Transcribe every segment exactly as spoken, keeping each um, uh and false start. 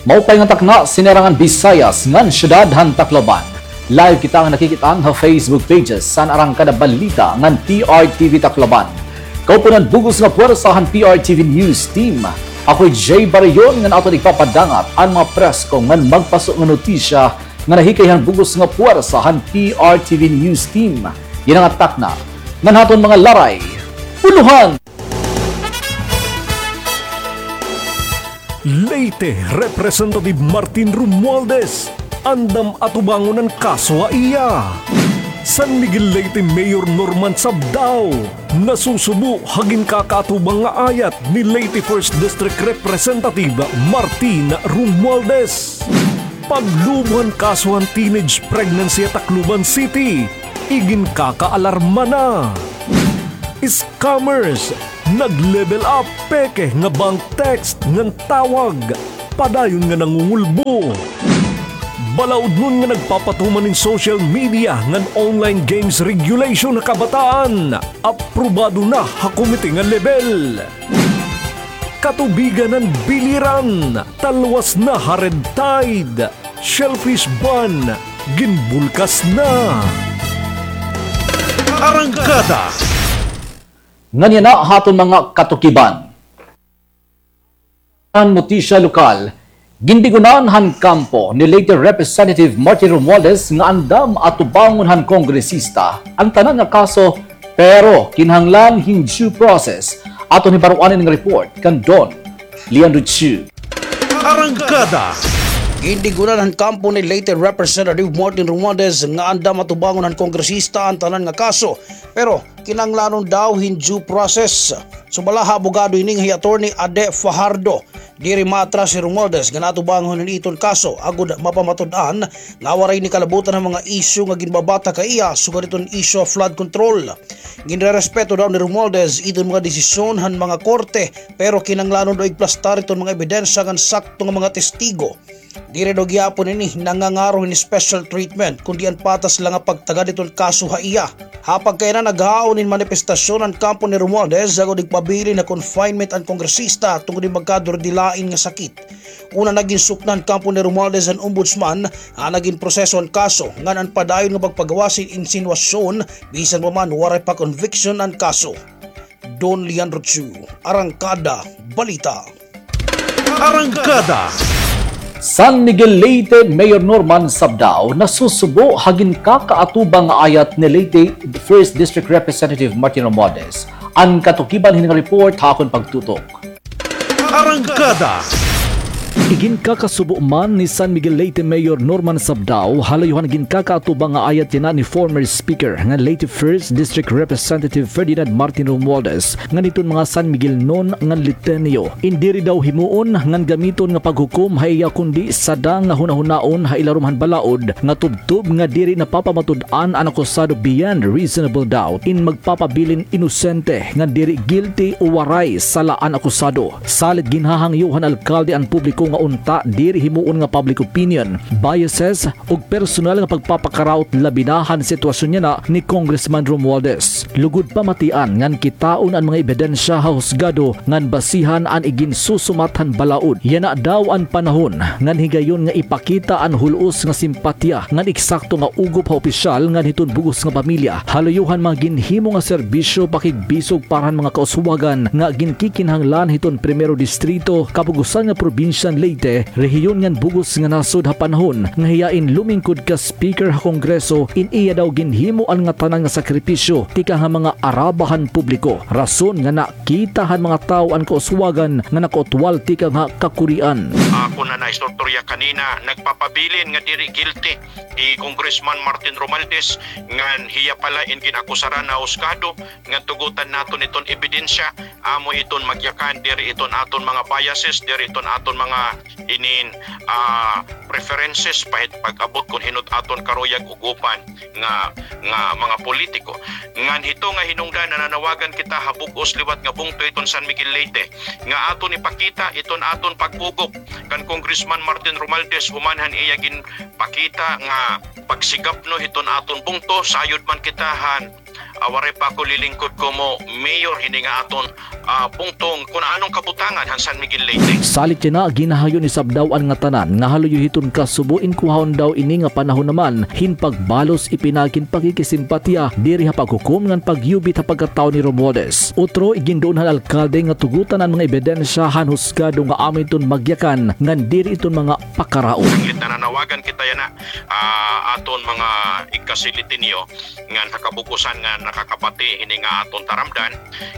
Maupay nga takna, sinarangan Bisayas ngan syudad han Tacloban. Live kita nga nakikit-an ha Facebook pages san Arangkada Balita ngan P R T V Tacloban. Kaupunan bug-os nga puwersa han P R T V News Team. Ako hi Jay Barillon ngan aton igpapadangat an mga presko ngan magpaso nga notisya nga nahikay han bug-os nga puwersa han P R T V News Team. Yana nga takna ngan ha aton mga laray. Ulohan! Leyte Representative Martin Romualdez, andam atubangon an kaso ha iya. San Miguel Leyte Mayor Norman Sabdao, nasusubo ha ginkakaatubang nga ayat ni Leyte First District Representative Martin Romualdez. Paglubo han kaso han teenage pregnancy ha Tacloban City, iginkakaalarma na. Scammers, nag-level up, peke nga bank text ngan tawag, padayon nga nangungulbo. Balaudnon nga nagpapatuman hin social media ngan online games regulation ha kabataan, aprobado na ha komite nga lebel. Katubigan han biliran, talwas na ha red tide. Shellfish ban, ginbulkas na. Arangkada. Ngan yana ha aton mga katukiban. An notisya lokal, gindigunan han kampo ni Leyte Representative Martin Romualdez nga andam atubangon han kongresista an tanan nga kaso, pero kinahanglan hin due process. Aton hibaroan ini nga report kan Don Leandro Chu. Arangkada. Gindigunan han kampo ni Leyte Representative Martin Romualdez nga andam atubangon han kongresista an tanan nga kaso, pero kinahanglanon daw hin due process. Sumala ha abogado ini nga hi Attorney Ade Fajardo, diri maatras hi Romualdez nga natubangon hin iton kaso, agod mapamatud-an nga waray ini kalabutan han mga isyu nga ginbabatak ha iya, sugad hiton isyu ha flood control. Ginrerespeto daw ni Romualdez iton mga desisyon han mga korte, pero kinahanglanon daw igplastar iton mga ebidensya ngan sakto nga mga testigo. Diri daw gihapon ini nangangaro hin special treatment, kundi an patas la nga pagtagad iton kaso ha iya. Ha pagkaiyan, naghaon hin manifestasyon an kampo ni Romualdez agod igpabilin ha confinement an kongresista tungod hin magkadurdilain nga sakit. Una, nagin sukna han kampo ni Romualdez an ombudsman ha nagin proseso han kaso, ngan an padayon nga pagpagawas hin insinuasyon, bisan pa man waray pa conviction an kaso. Don Leandro Chu, Arangkada Balita. Arangkada. San Miguel Leyte Mayor Norman Sabdao nasusubo ha ginkakaatubang nga ayat ni Leyte First District Representative Martin Romualdez. An katukiban hini nga report ha akon pagtutok. Arangkada. Iginkakasubo man ni San Miguel Leyte Mayor Norman Sabdao ha layuhan ginkakaatubang nga ayat yana ni former Speaker ngan Leyte First District Representative Ferdinand Martin Romualdez ngan hiton mga San Miguelnon ngan Leyteño. In diri daw himuon ngan gamiton nga paghukom ha iya kundi sada nga hunahunaon ha ilarom han balaod nga tubtob nga diri napapamatud-an an akusado beyond reasonable doubt. In magpapabilin inosente ngan diri guilty o waray sala an akusado. Salit ginhahangyo han alkalde an publiko nga unta diri himuon nga public opinion, biases, ug personal nga pagpapakaraot labi na han sitwasyon yana ni Congressman Romualdez. Lugod pamatian ngan kitaon an mga ebidensya ha husgado ngan basihan an iginsusumat han balaod. Yana daw an panahon ngan higayon nga ipakita an hul-os nga simpatya ngan eksakto nga ugop ha opisyal ngan hiton bug-os nga pamilya ha luyo han mga ginhimo nga serbisyo pakigbisog para han mga kauswagan nga ginkikinahanglan hiton Primero Distrito, kabugosan nga probinsya han Leyte, rehiyon ngan bug-os nga nasod ha panahon nga hiya in lumingkod ka Speaker ha Kongreso, in iya daw ginhimo an ngatanan nga sakripisyo tikang ha mga araba han publiko. Rason nga nakita han mga tawo an kauswagan nga nakautwal tikang ha kakurian. Ako na naistorya kanina, nagpapabilin nga diri guilty hi Congressman Martin Romualdez, ngan hiya pala in gin-akusaran ha husgado, ngan tugotan naton iton ebidensya, amo iton magyakan, diri iton aton mga biases, diri iton aton mga inin, ah, preferences, pahit pag-abot kon hin-o it aton karuyag ugopan nga, nga mga politiko. Ngan hito nga hinungdan, nananawagan kita ha bug-os liwat nga bungto hiton San Miguel Leyte nga aton ipakita iton aton pag-ugop kan Congressman Martin Romualdez human han iya ginpakita nga pagsigapno hiton aton bungto, sayod man kita han ah, waray pa ako lilingkod komo mayor hini nga aton, ah, bungto kon ano an kabutangan han San Miguel, Leyte. Salit yana, ginahayon isab daw an ngatanan nga haluyo hiton kasubo in kuhaon daw ini nga panahon naman hin pagbalos ipinaagi hin pakikisimpatiya diri ha paghukom ngan pagyubit ha pagkatawo ni Romualdez. Utro, iginduon han alkalde nga tugotan an mga ebidensya han husgado nga amo iton magyakan ngan diri iton mga pakaraot. Sanglit nananawagan kita yana, ah, aton mga igkasilitenyo ngan ha kabug-osan nga nakakabati hini nga aton taramdan,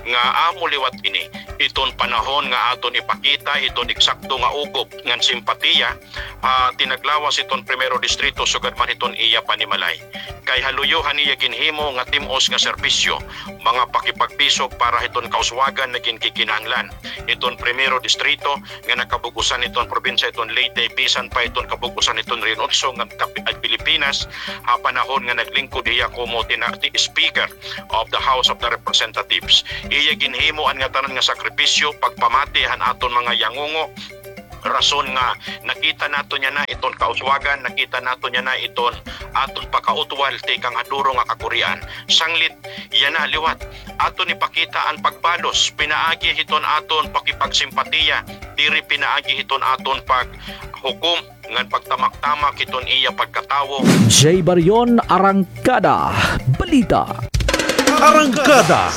nga amo liwat ini iton panahon nga aton ipakita iton eksakto nga ukop ngan simpatiya, ah, tinaglawas hiton Primero Distrito sugad man hiton iya panimalay. Kay haluyo han iya ginhimo nga tim-os nga serbisyo, mga pakipagbisog para hiton kauswagan nga ginkikinahanglan hiton Primero Distrito nga nakabug-osan hiton probinsya hiton Leyte, bisan pa hiton kabug-osan hiton Region Otso ngan kap-, ah, Pilipinas, ha panahon nga naglingkod hiya komo tina-, ti-, Speaker of the House of the Representatives. Iya ginhimo an ngatanan nga sakripisyo, pagpamati han aton mga yangungo, rason nga nakita naton yana iton kauswagan, nakita naton yana iton aton pakautwal tikang ha duro nga kakurian. Sanglit yana liwat, aton ipakita an pagbalos pinaagi hiton aton pakipagsimpatiya, diri pinaagi hiton aton paghukom ngan pagtamak-tamak hiton iya pagkatawo. Jay Barion, Arangkada Balita. Arangkada.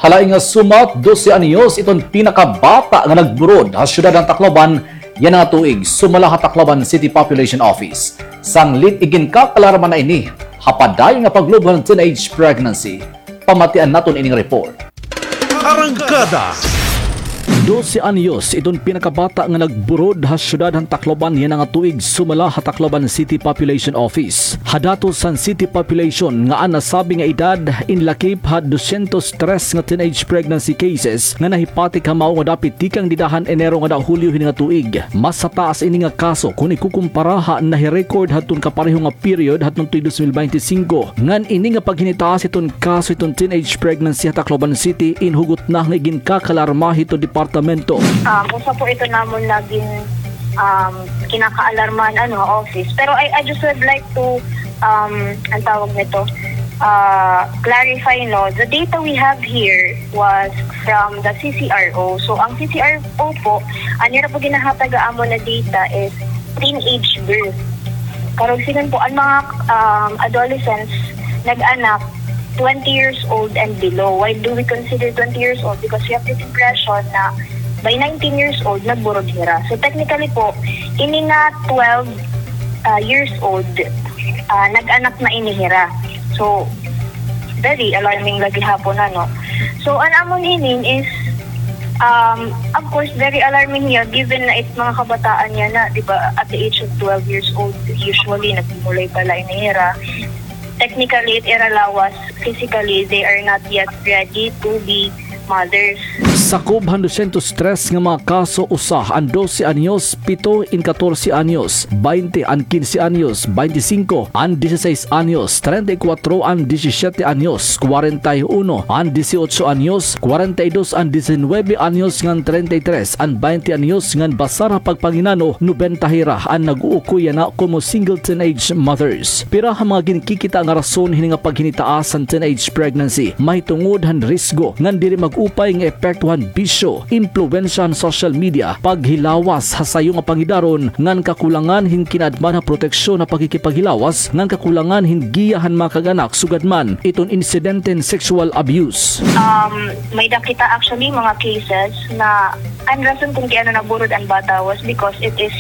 Hala, nga sumat, dose anyos iton pinakabata nga nagburod ha syudad han Tacloban yana nga tuig, sumala ha Tacloban City Population Office. Sanglit iginkakalarma na ini ha padayon nga paglubo han teenage pregnancy. Pamatian naton ining report. Arangkada. Dose anyos iton pinakabata nga nagburod ha syudad han Tacloban yana nga tuig, sumala ha Tacloban City Population Office. Ha datos han City Population nga an nasabi nga edad inlakip ha dosyentos tres nga teenage pregnancy cases nga nahipatik ha mao nga dapit tikang dida han Enero ngada Hulyo hini nga tuig. Mas hataas ini nga kaso kon ikukumpara ha nahi-record hadton kapareho nga period hadton tuig dos mil baynte singko. Ngan ini nga paghinitaas hiton kaso hiton teenage pregnancy ha Tacloban City in hugot na nga iginkakalarma hiton departamento. Um, usa po ito namon naging, um, kinakaalarmahan, ano, office. Pero I, I just would like to, um, ang tawag nito, uh, clarify, no, the data we have here was from the C C R O. So, ang C C R O po, ang nira po ginahatag ha amon na data is teenage birth. Karuyag sidngon po, ang mga, um, adolescents, nag-anak, twenty years old and below. Why do we consider twenty years old? Because we have this impression na by nineteen years old, nagburod hira. So, technically po, ini nga twelve, ah, years old, ah, nag-anak na ini hira. So, very alarming la gihapon, ano. So, an amon inin is, um, of course, very alarming hiya, given na it mga kabataan yana, di ba, at the age of twelve years old, usually, nagmumulay pa la ini hira. Technically, it ira lawas, physically, they are not yet ready to be mothers. Sakob han dosyentos tres nga mga kaso, usa an dose anyos, pito in katorse anyos, baynte an kinse anyos, baynte singko an dieciséis anyos, treinta y cuatro an diecisiete anyos, cuarenta y uno an dieciocho anyos, cuarenta y dos an diecinuebe anyos ngan treinta y tres an baynte anyos ngan basar ha pagpanginano, nobenta hira an nag-uukoy yana komo single teenage mothers. Pira ha mga ginkikita nga rason hini nga paghinitaas han teenage pregnancy mahitungod han risgo ngan diri mag-upay nga epekto han bisyo, impluwensya han social media, paghilawas ha sayo nga pangidaron ngan kakulangan hin kinaadman ha proteksyon ha pakikipaghilawas ngan kakulangan hin giya han mga kag-anak sugad man iton insidente hin sexual abuse. Um, may-ada kita actually mga cases na an rason kon kay ano naburod an bata was because it is,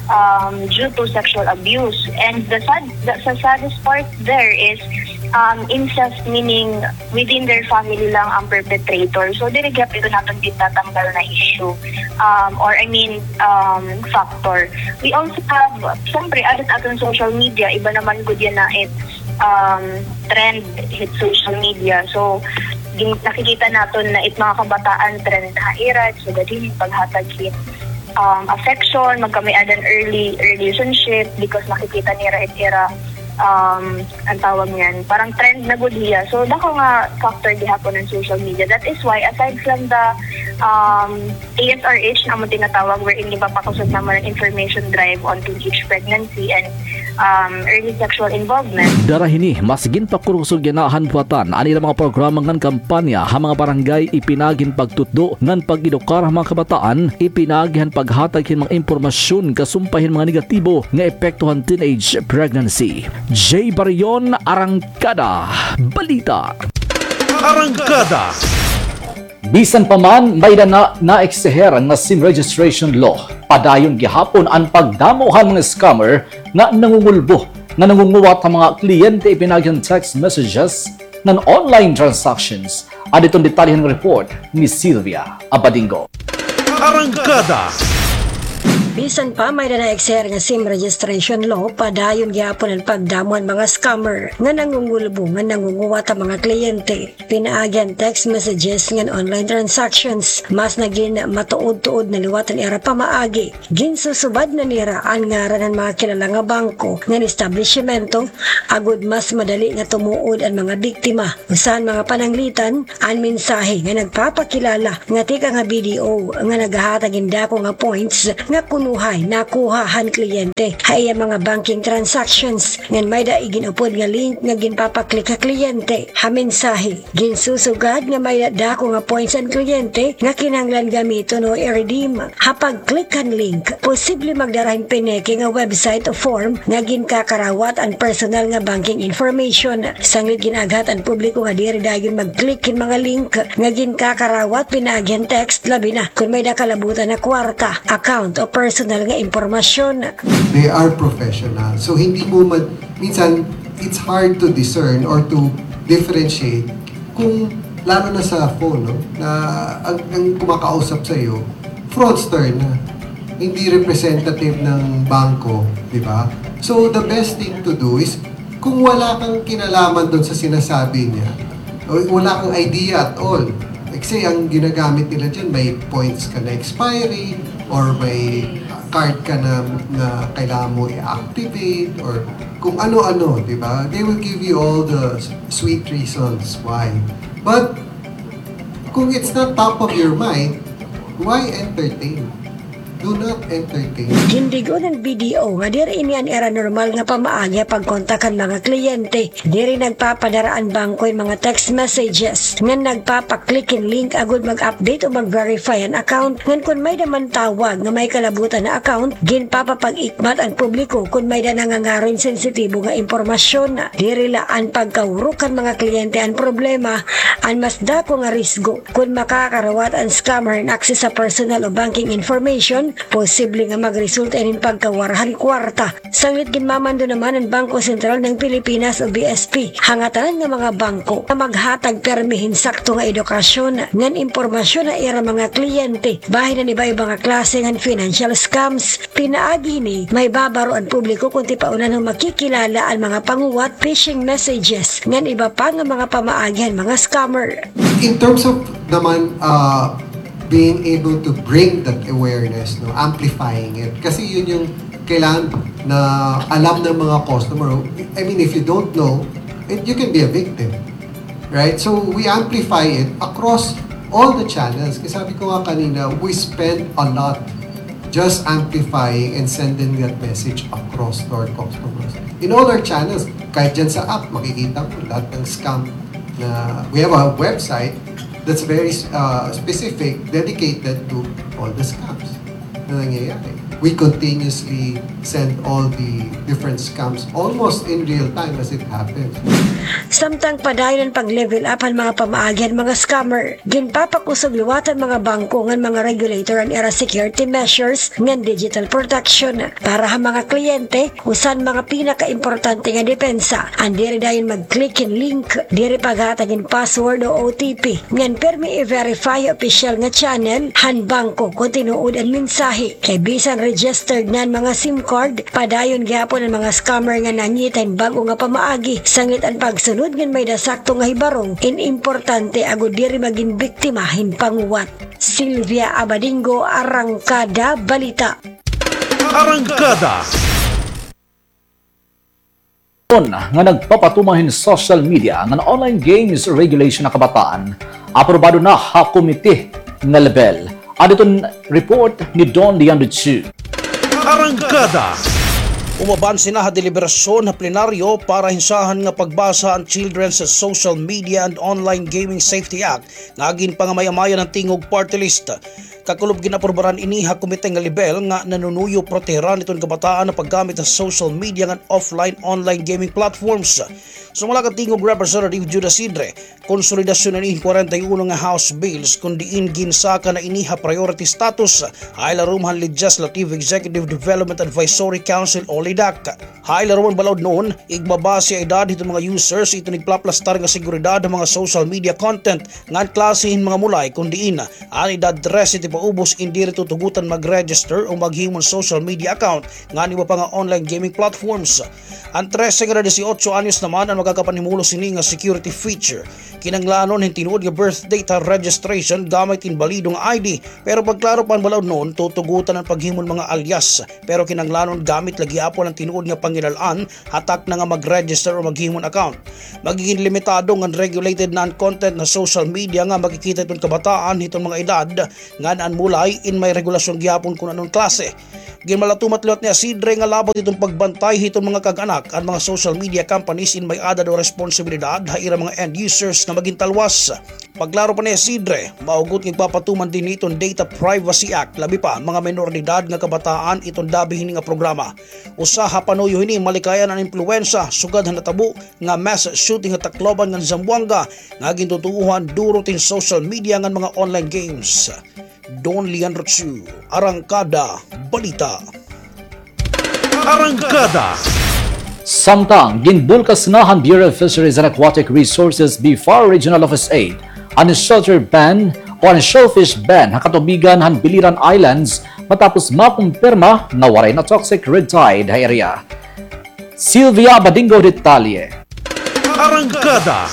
um, due to sexual abuse. And the sad, the, the saddest part there is, um, incest, meaning within their family lang ang perpetrator. So, diri gihapon ito naton gintatambal na issue. Um, or I mean, um, factor. We also have, syempre, adat aton social media, iba naman gud yana it, um, trend hit social media. So, gin-, nakikita naton na it mga kabataan trend ha ira, so, gadi, paghatag hit, um, affection, magkamay-adan early relationship because nakikita nira it ira, um, an tawag niyan, parang trend na gud hiya. So, dako nga factor gihapon an social media. That is why, aside from the, um, A S R H na amon tinatawag, wherein gipapakusog namon an information drive on teenage pregnancy and um, early sexual involvement. Dara hini, mas ginpakurusog yana han buhatan an ira mga programa ngan kampanya ha mga barangay, ipinaagi hin pagtutdo ngan pag-edukar ha mga kabataan, ipinaagi han paghatag hin mga impormasyon kasumpay hin mga negatibo nga epekto han teenage pregnancy. Jay Barion, Arangkada Balita. Arangkada. Bisan pa man may-ada na naeksihir nga SIM registration law, padayon gihapon an pagdamo han mga scammer nga nangungulbo, nga nangunguwat han mga kliyente ipinaagi han text messages ngan online transactions. Adto an detalye han report ni Sylvia Abadingo. Arangkada. Bisan pa may-ada naeksihir nga SIM registration law, padayon gihapon an pagdamo han mga scammer nga nangungulbo, nga nangunguwat han mga kliyente pinaagi han text messages ngan online transactions. Mas nagin matuod-tuod na liwat an ira pamaagi. Ginsusubad na nira an ngaran han mga kilala nga bangko ngan establisimento, agod mas madali nga tumuod an mga biktima. Usa han mga pananglitan, an mensahe nga nagpapakilala nga tikang ha B D O nga naghahatag hin dako nga points nga kunuhay nakuha han kliyente ha iya mga banking transactions, ngan may-ada igin-upod nga link nga ginpapa-click ha kliyente ha mensahe. Ginsusugad nga may-ada dako nga points an kliyente nga kinahanglan gamiton o i-redeem. Ha pag-click han link, posible magdara hin pineke nga website o form nga ginkakarawat an personal nga banking information. Sanglit gin-aaghat an publiko nga diri dayon mag-click hin mga link nga ginkakarawat pinaagi han text, labi na kon may-ada kalabutan na kwarta, account o personal nga impormasyon. They are professional. So, hindi mo ma-, minsan, it's hard to discern or to differentiate kung, lalo na sa phone, no, na ang, ang kumakausap sa'yo, fraudster na. Hindi representative ng bangko, di ba? So, the best thing to do is, kung wala kang kinalaman doon sa sinasabi niya, o wala kang idea at all, like, say, ang ginagamit nila dyan, may points ka na expiry, or may card ka na, na kailangan mo i-activate, or kung ano-ano, di ba? They will give you all the sweet reasons why. But kung it's not top of your mind, why entertain? Do not entertain. Gindig-on han B D O nga diri ini an ira normal nga pamaagi ha pagkontak han mga kliyente. Diri nagpapadara an bangko hin mga text messages ngan nagpapa-click hin link agod mag-update o mag-verify han account, ngan kon may-ada man tawag nga may kalabutan na account, ginpapapag-ikmat an publiko kon may-ada nangangaro hin sensitibo nga impormasyon. Diri la an pagkahurok han mga kliyente an problema, an mas dako nga risgo. Kon makakarawat an scammer hin access sa personal o banking information, posible nga magresulta ini hin pagkawara han kwarta. Sanglit ginmamando naman an Bangko Sentral ng Pilipinas o B S P ha ngatanan nga mga bangko nga maghatag pirmi hin sakto nga edukasyon ngan impormasyon ha ira mga kliyente bahin han iba-iba nga klase ngan financial scams. Pinaagi hini, mahibabaro an publiko kon tipaonan nga makikilala an mga panguwat, phishing messages, ngan iba pa nga mga pamaagi han mga scammer. In terms of naman, uh, being able to bring that awareness, no, amplifying it. Kasi yun yung kailangan na alam ng mga customer. I mean, if you don't know, it, you can be a victim. Right? So, we amplify it across all the channels. Kasi sabi ko nga kanina, we spend a lot just amplifying and sending that message across to our customers. In all our channels, kahit dyan sa app, makikita mo lahat ng scam na, we have a website that's very, uh, specific, dedicated to all the scams na nangyayari. We continuously send all the different scams almost in real time as it happens. Samtang padayon an pag-level up han mga pamaagi han mga scammer, ginpapakusog liwat han mga bangko ngan mga regulator an ira security measures ngan digital protection. Para ha mga kliyente, usa han mga pinakaimportante nga depensa an diri dayon mag-click hin link, diri paghatag hin password o O T P, ngan pirmi i-verify ha opisyal nga channel han bangko kon tinuod an mensahe. Kay bisan registered na an mga SIM card, padayon gihapon an mga scammer nga nangita hin bag-o nga pamaagi. Sanglit an pagsunod ngan may-ada sakto nga hibarong in importante agod diri magin biktima hin panguwat. Sylvia Abadingo, Arangkada Balita. Arangkada. Nga nagpapatuman hin social media ngan online games regulation ha kabataan, aprobado na ha komite nga lebel. Adto an report ni Don Leandro Chu. Arangkada. Umabanse na ha deliberasyon ha plenaryo para hinsahan nga pagbasa an Children's Social Media and Online Gaming Safety Act nga ginpangamay-amayan han Tingog Party List. Kakulob gin-aprubaran ini ha komite nga lebel nga nanunuyo proteheran iton kabataan ha paggamit ha social media ngan offline online gaming platforms. Sumala kan Tingog Representative Judas Sidre, konsolidasyon ini hin kwarenta y uno nga House bills kon diin ginsaka na ini ha priority status ha ilarom han Legislative Executive Development Advisory Council o LEDAC. Ha ilarom han balaod noon, igmabase ha edad hiton mga users iton igpaplastar nga seguridad ha mga social media content ngan klase hin mga mulay kon diin an edad trese paubos in diri tutugotan mag-register o maghimo hin social media account ngan iba pa nga online gaming platforms. An trese ngada disiotso anyos naman an makakapanhimulos hini nga security feature. Kinahanglanon hin tinuod nga birth date ha registration gamit hin balido nga I D, pero pagklaro pa han balaod noon, tutugotan an paghimo hin mga alias, pero kinahanglanon gamit la gihapon an tinuod nga pangilal-an ha takna nga mag-register o maghimo hin account. Magigin limitado ngan regulated na an content ha social media nga makikita hiton kabataan hiton mga edad ngan an mulay in may regulasyon gihapon kon ano an klase. Ginmalatumat liwat ni Asidre nga labot hiton pagbantay hiton mga kag-anak an mga social media companies in may-ada daw responsibilidad ha ira mga end users nga magin talwas. Pagklaro pa ni Asidre, mahugot nga igpapatuman dinhi hiton Data Privacy Act, labi pa mga menor de edad nga kabataan iton dabi hini nga programa. Usa ha panuyo hini, malikayan an impluwensya sugad ha natabo nga mass shooting ha Tacloban ngan Zamboanga nga gintutuohan duro tin social media ngan mga online games. Don Leandro Chu, Arangkada Balita. Arangkada. Samtang, ginbulkas na han Bureau of Fisheries and Aquatic Resources, BFAR Regional Office eight, an shelter ban o an shellfish ban ha katubigan han Biliran Islands matapos makumpirma nga waray na toxic red tide ha area. Sylvia Badingo detalye. Arangkada.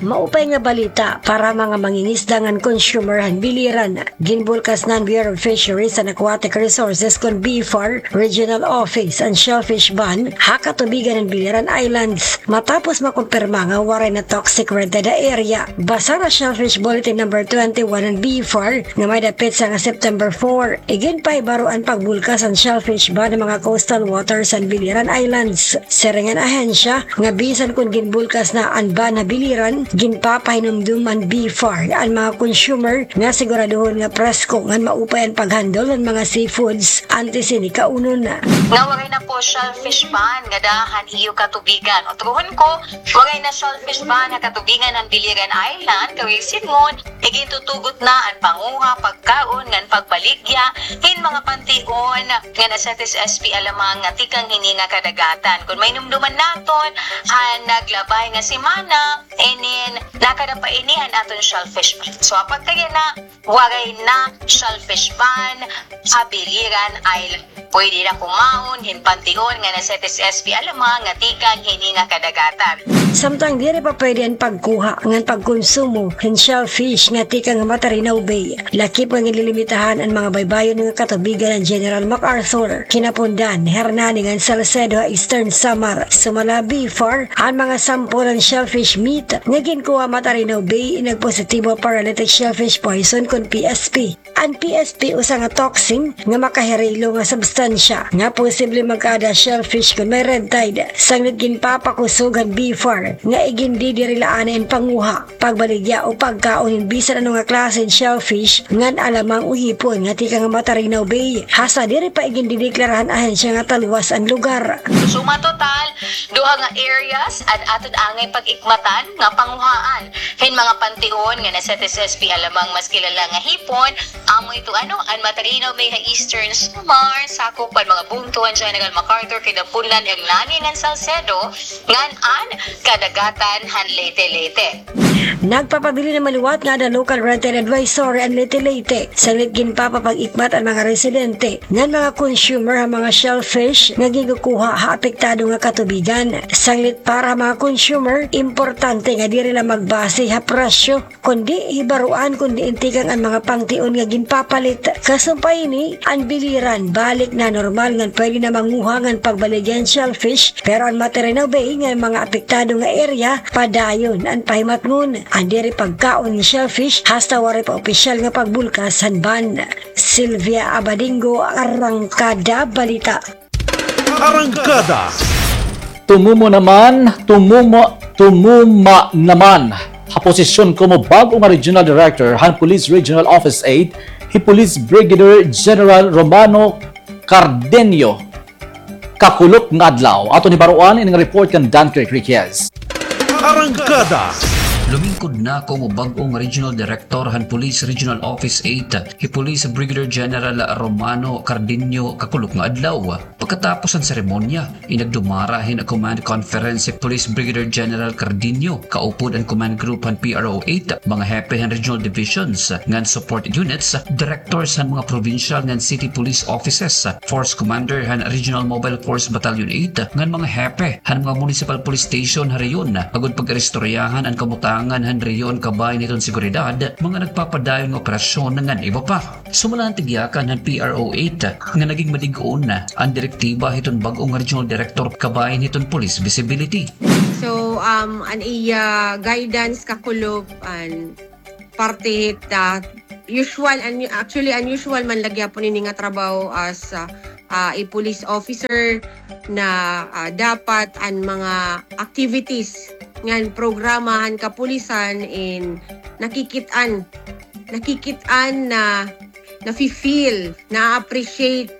Maupay nga balita para mga mangingisda ngan consumer han Biliran. Ginbulkas na han Bureau of Fisheries and Aquatic Resources kon BFAR Regional Office an shellfish ban ha katubigan han Biliran Islands matapos makumpirma nga waray na toxic red tide ha area. Basa ha Shellfish Bulletin number twenty-one han BFAR nga may-ada petsa nga September four. Iginpahibaro an pagbulkas han shellfish ban ha mga coastal waters han Biliran Islands. Siring han ahensya nga bisan kon ginbulkas na an ban ha Biliran, ginpapahinumdom han BFAR an mga consumer nga siguraduhon nga presko ngan maupay an pag-handle han mga seafoods antes hini kaunon. Nga waray na po shellfish ban ngada han iyo katubigan. Utrohon ko, waray na shellfish ban ha katubigan han Biliran Island, kay sidngon, igintutugot na an panguha, pagkaon, ngan pagbaligya hin mga pantion ngan S F S S P alamang nga tikang hini nga kadagatan. Kon mahinumdoman naton, han naglabay nga semana, inin nakada pa ini han aton shellfish ban. So, apagkayana, waray na shellfish ban ha Biliran Island. Pwede na kumaon hin pantion ngan S F S S P alamang nga tikang hini nga kadagatan. Samtang diri pa pwede an pagkuha ngan pagkonsumo hin shellfish nga tikang ha Matarinaw Bay, lakip nga ginlilimitahan an mga baybayon nga katubigan han General MacArthur, Quinapondan, Hernani ngan Salcedo ha Eastern Samar. Sumala BFAR, an mga sample han shellfish meat nga ginkuha ha Matarinaw Bay nagpositibo ha paralytic shellfish poison kon P S P. An P S P usa nga toxin nga makahirilo nga substansya nga posible magkaada ha shellfish kon may red tide. Sanglit ginpapakusog han BFAR nga igindidirilaan na an panguha, pagbaligya o pagkaon hin bisan ano nga klase hin shellfish ngan alamang o hipon nga tikang ha Matarinaw Bay, hasta diri pa igindideklara han ahensya nga talwas an lugar. Suma total, duha nga areas an aton angay pag-ikmatan nga panguhaan hin mga pantion ngan S F S S P alamang mas kilala nga hipon, amo ito ano, an Matarinaw Bay ha Eastern Samar, sakop an mga bungto han General MacArthur, Quinapondan, Hernani ngan Salcedo, ngan an kadagatan han Leyte, Leyte. Nagpapabilin naman liwat nga ada local red tide advisory an Leyte, Leyte. Sanglit ginpapapag-ikmat an mga residente ngan mga consumer han mga shellfish nga ginkukuha ha apektado nga katubigan. Sanglit para ha mga consumer, importante nga diri la magbase ha presyo, kundi hibaroan kon diin tikang an mga pantion nga ginpapalit. Kasumpay hini, an Biliran balik na normal ngan pwede na manguha ngan pagbaligya hin shellfish, pero an Matarinaw Bay ngan mga apektado nga area padayon an pahimatngon an diri pagkaon hin shellfish hasta waray pa opisyal nga pagbulkas han ban. Sylvia Abadingo, Arangkada Balita. Arangkada. Tumumo naman, tumumo, tumuma naman ha posisyon komo bag-o nga Regional Director han Police Regional Office eight, hi Police Brigadier General Romano Cardenio. Kakulop nga adlaw. Aton hibaroan ini nga report kan Dunkirk Riquez. Arangkada. Lumingkod na komo bag-o nga Regional Director han Police Regional Office eight, hi Police Brigadier General Romano Cardenio kakulop nga adlaw. Pagkatapos han seremonya, inagdumara hin command conference hi Police Brigadier General Cardenio, kaupod an command group han P R O eight, mga hepe han regional divisions ngan support units, directors han mga provincial ngan city police offices, force commander han Regional Mobile Force Battalion eight, ngan mga hepe han mga municipal police station ha rehiyon, agod pag-iristoryahan an kabutangan han rehiyon kabahin hiton seguridad, mga nagpapadayon nga operasyon ngan iba pa. Sumala han tigyakan han P R O eight nga naging madig-on an direktiba hiton bag-o nga regional director kabahin hiton police visibility. So, um, an iya guidance kakulop an parte hit, ah, usual, an-, actually, unusual man la gihapon ini nga trabaho as, ah, ah, a police officer na, ah, dapat an mga activities ngan programa han kapulisan in nakikit-an, nakikit-an na nafi-feel, na-appreciate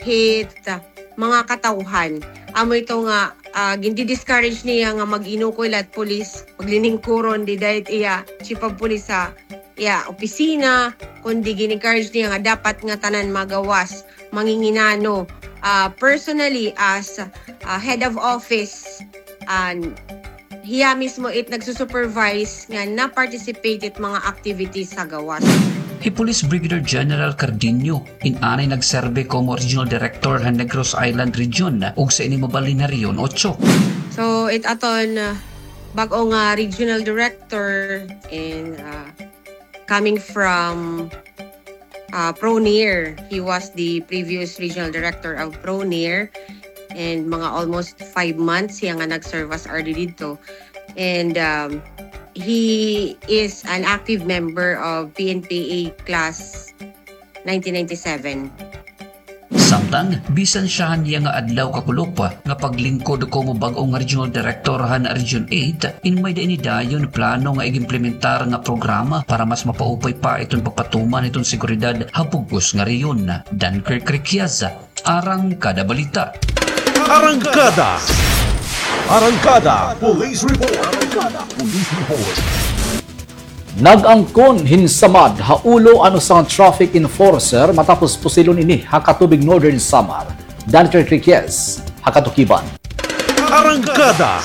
hit mga katawhan. Amo ito nga, ah, gindi-discourage niya nga mag-inukoy la it pulis, magliningkuron dida it iya chief of police ha iya opisina, kundi gin-encourage niya nga dapat ngatanan magawas, manginginano, ah, personally as, ah, head of office, an hiya mismo it nagsusupervise nga na-participate it mga activities ha gawas. Hi Police Brigadier General Cardenio, in anay nagserbi komo Regional Director han Negros Island Region, ug sa ini mabalhin ha Region Ocho. So, it aton, uh, bag-o nga regional director in, uh, coming from, uh, Pronair. He was the previous regional director of Pronair. And mga almost five months siya nga nag-serve as R D didto. And, um, he is an active member of P N P A Class nineteen ninety-seven. Samtang, bisan siya han iya nga adlaw kakulop nga paglingkod komo bag-o nga regional director han Region eight, in may-ada ini dayon plano nga ig-implementar nga programa para mas mapaupay pa iton pagpatuman hiton seguridad ha bug-os nga rehiyon. Dunkirk Riquez, Arangkada Balita. Arangkada. Arangkada Police Report. Arangkada Police Report. Nag-angkon hin samad ha ulo an usa nga traffic enforcer matapos pusilon ini ha Catubig, Northern Samar. Dunkirk Riquez, ha katukiban. Arangkada.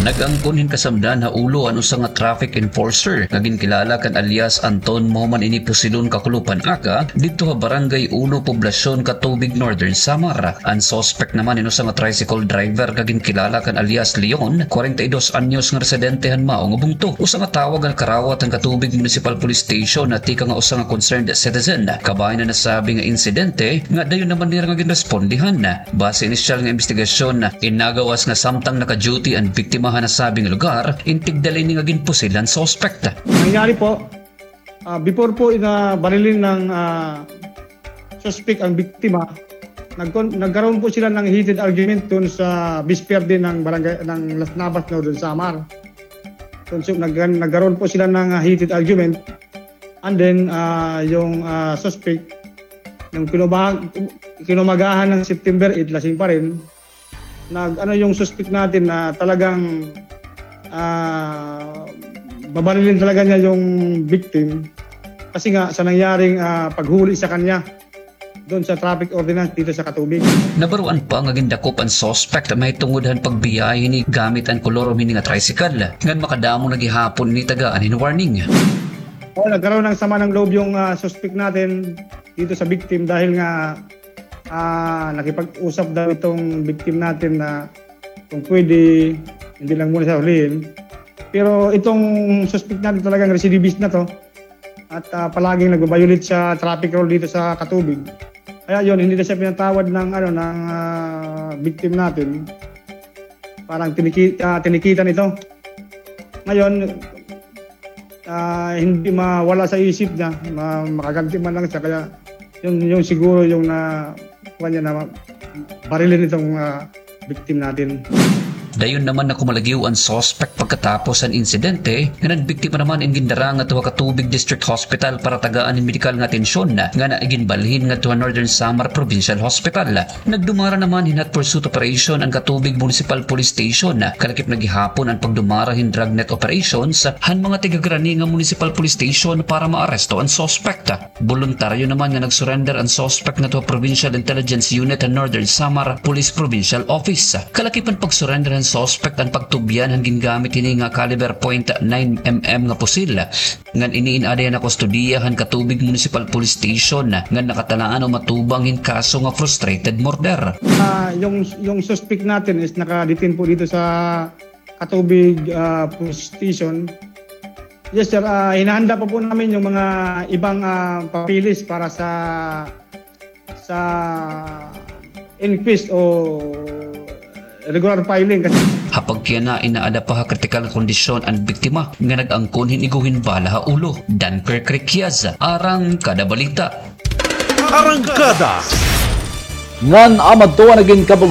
Nag-angkon hin kasamdan ha ulo an usa nga traffic enforcer nga ginkilala kan alias Anton mahuman ini pusilon kakulop han aga didto ha Barangay Uno, Poblacion, Catubig, Northern Samar. An suspect naman in usa nga tricycle driver nga ginkilala kan alias Leon, kwarenta y dos anyos nga residente han mao nga bungto. Usa nga tawag nga nakarawat han Catubig Municipal Police Station na tikang ha usa nga concerned citizen kabahin han nasabi nga insidente nga dayon naman nira nga ginrespondihan. Base inisyal nga imbestigasyon, in nagawas nga samtang naka-duty an biktima ha nasabi nga lugar, in tigda la ini nga ginpusil han suspect. Nangyari po, ah, before po na barilin ng, ah, suspect ang biktima, nagkon-, nagkaroon po sila ng heated argument doon sa Bisperde ng barangay, ng Las Navas, Northern Samar. So, so, nag-, nagkaroon po sila ng, ah, heated argument. And then, ah, yung, ah, suspect, nung kinuba-, kinumagahan ng September eight, lasing pa rin, nag-, ano yung suspect natin na talagang, ah, babarilin talaga niya yung victim. Kasi nga, sa nangyaring, ah, paghuli sa kanya doon sa traffic ordinance dito sa Catubig. Nabaroan pa nga gindakop an suspect mahitungod han pagbiyahe hini gamit an kolor hini nga tricycle, ngan makadamo na gihapon ini tagaan hin warning. Oh, nagkaroon ng sama ng loob yung, ah, suspect natin dito sa victim dahil nga, ah, nakipag-usap daw itong victim natin na kung pwede, hindi lang muna siya hulihin. Pero itong suspect natin talagang recidivist na 'to at, ah, palaging nagba-violate sa traffic rule dito sa Catubig. Kaya 'yon, hindi na siya pinatawad ng, ano, ng, ah, victim natin. Parang tiniki-, ah, tinikitan ito. Ngayon, ah, hindi mawala sa isip niya, ma-, makaganti man lang siya. Kaya 'yun, 'yun siguro yung na-, kuwan niya na barilin itong, ah, victim natin. Dayon naman nakumalagyo an suspect pagkatapos han insidente, ngan an biktima naman in gindara ngadto ha Catubig District Hospital para tagaan hin medikal nga atensyon, ngan iginbalhin ngadto ha Northern Samar Provincial Hospital. Nagdumara naman hin hot pursuit operation an Catubig Municipal Police Station. Kalakip na gihapon an pagdumara hin dragnet operations han mga tigagrani nga municipal police station para maaresto an suspect. Boluntaryo naman nga nag-surrender an suspect ngadto ha Provincial Intelligence Unit han Northern Samar Police Provincial Office. Kalakip han pag-surrender han suspect an pagtubyan han gingamit hini nga caliber point nine M M nga pusil. Ngan ini in-adi ha kustodiya han Catubig Municipal Police Station, ngan nakatalaan o matubang hin kaso nga frustrated murder. Ah, yung, yung suspect natin is naka-detain po dito sa Catubig, ah, Police Station. Yes, sir. Ah, hinahanda pa po namin yung mga ibang, ah, papeles para sa, sa inquest o regular filing. Ha pagkiana, inaada pa ha kritikal nga kondisyon an biktima nga nag-angkon hin igo hin bala ha ulo. Dunker Criquias, Arangkada Balita. Arangkada. Ngan amo adto an nagin kabug-os